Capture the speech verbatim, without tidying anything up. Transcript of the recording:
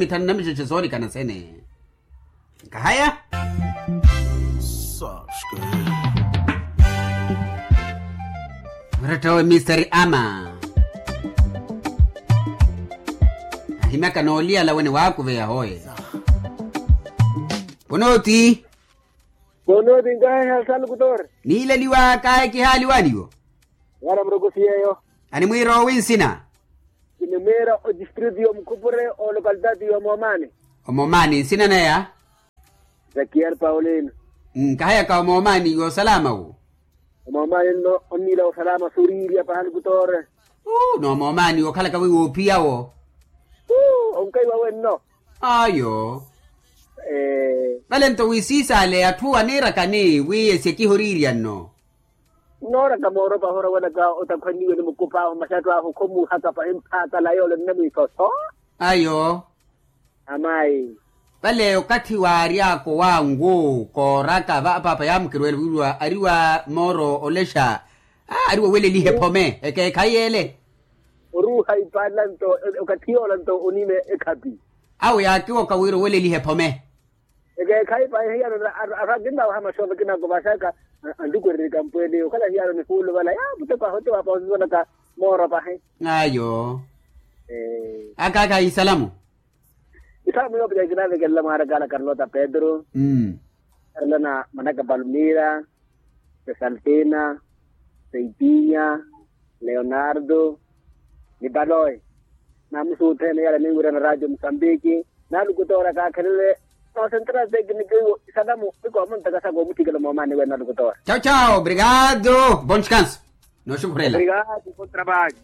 mithanu na mixexe soolikana sene. Nkahaya. Saske. Muretta-we mister ama ahimyaka nooliyala wene waakuveya hoye. Ponooti. Ponooti nkahaya salukutore. Niileliwaka ekihaaliwaniwo. Wala murokosiyeyo. Animwiira owi nsina? Kinimwiira odistritu y'omukhupure olokalitati y'omoomani. Omoomani nsina neya? Zakiel paulino. Nkahayaka omoomani y'osalama wo. Omoomani nno onniila osalama soriirya pahaluku toore. Uu n'omoomani okhalaka wi woophiya wo. Uu onkaiwa wenno. Ayo. Vale nto wisiisale atthu aniirakani wi esye kiho oriirya nno. Nnooraka mooropa ahorowelaka otakhwanniwe ni mukup'ahu masi atthu ahu khomuuhaka pahi mphaakala yoole nne mwiisoso. Ayo. Amayi. Vale okathi waary'aka owangu kooraka va paapa yaamukirweela wiriwa ariwa mooro olexa. Ariwa oweleliha ephome ekeekhayi ele. Oruuha ipaala nto okathi yoola nto onime ekhapi. Awo yaakiwoka wira oweleliha ephome. Ekeekhayi pahi hiyano. Atthu akinnawaha maxoova kinakovaxaka antukwererye kampwene okhala hiyano nihuuluvala ya mutepa hote waapa osisolaka mooro pahi. Ayo. Akaaka isalamu. Isalamu yoopica kinavekelela mwaarakaala karlota pedro. Karlona manaka palmira, sesaltina, seitinya, leonardo, ni paloe. Namusuutthene yala ninwirana radio musambiki. Nalukutoora kaakhelele noosentera tekiniki iwo isalamu. Ikoomunta kasaka omuthikela moomani wene nalukutoora. Chao chao obrigado. Bon descanso. Nooxukhurela. Obrigado bon trabalho.